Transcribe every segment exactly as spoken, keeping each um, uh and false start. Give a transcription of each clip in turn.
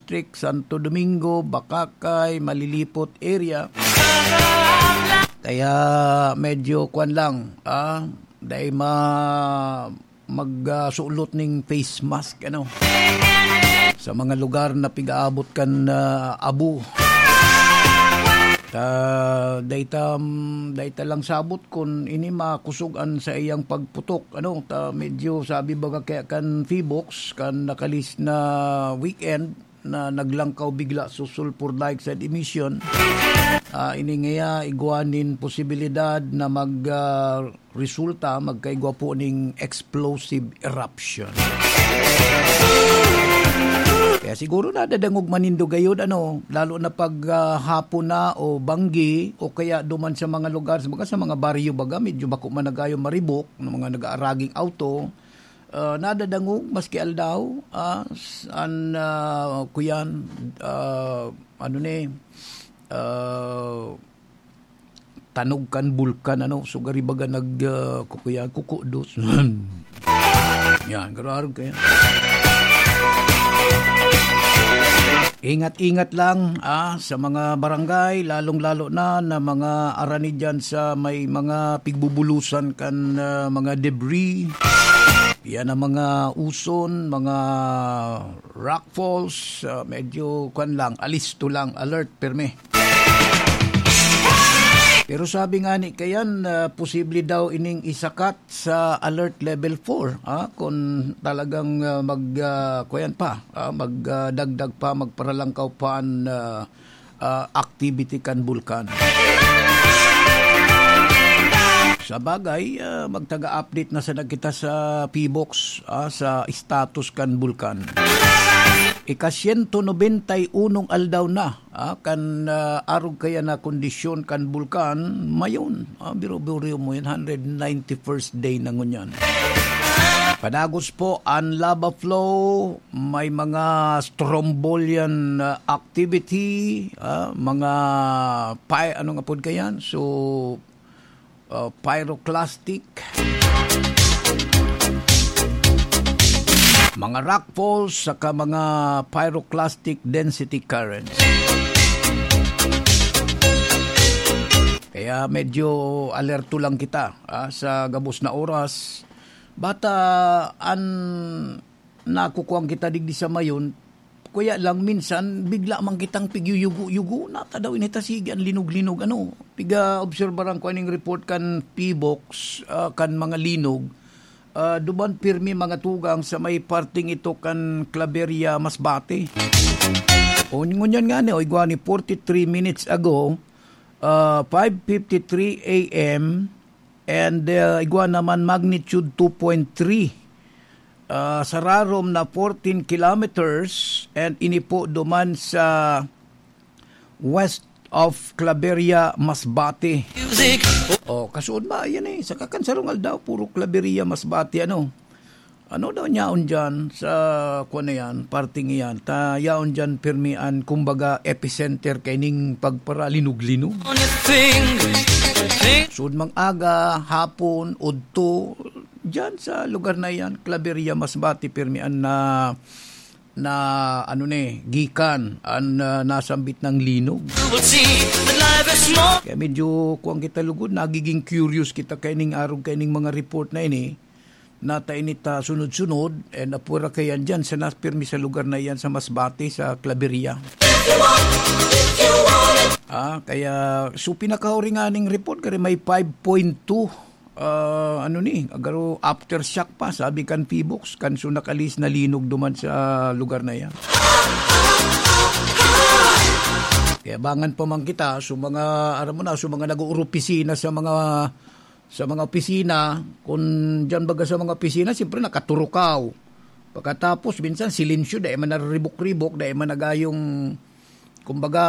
District, Santo Domingo, Bacacay, Malilipot area. Kaya medyo kwan lang, ah, dai ma-, mag, ah, sulot ning face mask, ano, sa mga lugar na pigaabot kan, ah, abo. Ta, dai ta, mm, dai ta lang sabot kun ini makusog an saiyang pagputok, ano, ta medyo sabi baga kaya kan Phivolcs, kan nakalis na weekend, na naglangkaw bigla so sulfur dioxide emission. Ah, ini ngaya igwa nin posibilidad na mag, ah, resulta, magkaigwa po ning explosive eruption. Kaya siguro nadadangog man nindo gayod, ano, lalo na pag, ah, hapon na o banggi o kaya duman sa mga lugar, sa mga, sa mga baryo baga, medyo bako man nagayo maribok ng mga nag-aaraging auto, ah, nadadangog maski aldaw, ah, s-, an, ah, kuyan, ah, ano ni, ah, tanog kan bulkan, ano, so gari baga nag, ah, kukuyan, kukudos. Yan, garo-arog kaya. Ingat-ingat lang, ah, sa mga barangay, lalong-lalo na, na mga arani dyan sa may mga pigbubulusan kan, ah, mga debris. Yan ang mga uson, mga rockfalls, ah, medyo kwan lang, alisto lang, alert, pirmi. Pero sabi nga ni kayan, ah, posible daw ining isakat sa alert level four, ah, kung talagang, ah, mag, ah, kuyan pa, ah, mag, ah, dagdag pa, magparalangkaw pa an, ah, ah, activity kan bulkan. Sa bagay, ah, magtaga-update na sana kita sa Phivolcs, ah, sa status kan bulkan. Ika-siyento nobenta y unong aldaw na, ah, kan, ah, arog kaya na kondisyon kan bulkan, mayon. Ah, biro-biro mo yan, hundred ninety-first day na ngunyan. Padagos po an lava flow, may mga strombolian, ah, activity, ah, mga pi-, ano nga pod kayan? So, ah, pyroclastic, mga rockfalls, saka mga pyroclastic density currents. Kaya medyo alerto lang kita, ah, sa gabos na oras. Bata an nakukuwang kita digdi sa mayon, kaya lang minsan bigla man kitang pigyuyugo-yugo, nata daw ini ta sige an linog-linog, ano. Piga-obserbaran ko aning report kan Phivolcs, ah, kan mga linog, ah, duman pirmi mga tugang sa may parting ito kan Claveria, Masbate. O, ngunyan nga ni, o, igwa ni forty-three minutes ago, ah, five fifty-three A M, and, ah, igwa naman magnitude two point three. Ah, sa rarom na fourteen kilometers, and ini po duman sa west of Claveria, Masbate. Music. Oh, kasuod ba? Yan eh. Sa kakansarong aldaw, puro Claveria, Masbate, ano? Ano daw niyaon dyan sa, kuwan na yan, parting iyan? Ta, yaon dyan, pirmi an, kumbaga, epicenter kaining pagparalinog-linog. On your finger. Sud mang aga, hapon, udto, dyan sa lugar na yan, Claveria, Masbate, pirmi an na, na, ano ni, gikan, an, ah, nasambit ng linog. You will see that life is more. Kaya medyo, kuwan kita lugod, nagiging curious kita kaining arog, kaining mga report na ini, nata ini ta sunod-sunod, and apura kayan dyan, sa nas-, pirmi sa lugar na yan, sa Masbate, sa Claveria. Ah, kaya, so, pinakahuri nga ning report, kaya may five point two, ah, ano ni, agaro aftershock pa, sabi kan Phivolcs, kan so nakalis na linog duman sa lugar na yan. Kaya bangan pa man kita, so mga, aram mo na, so mga nag-uoropisina sa mga, sa mga opisina, kung dyan baga sa mga opisina, siyempre nakaturukaw. Pagkatapos, minsan, silensyo, dai man nariribok-ribok, dai man nagayong, kumbaga,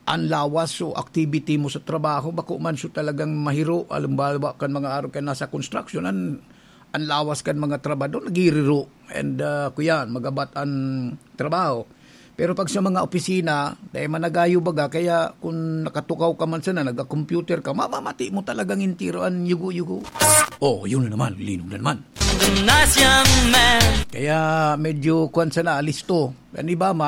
an lawas o activity mo sa trabaho, bako man so talagang mahiro. Halimbawa, kan mga araw ka nasa construction, an, an lawas kan mga trabahador, nagiriro. And, ah, kuyan, magabat an trabaho. Pero pag sa mga opisina, dai man nagayo baga, kaya kung nakatukaw ka man sana, nagka-computer ka, mamamati mo talagang entero an yugo-yugo. Oh, yun na naman, linog na naman. The nice young man. Kaya medyo kwan sana, alisto. An iba,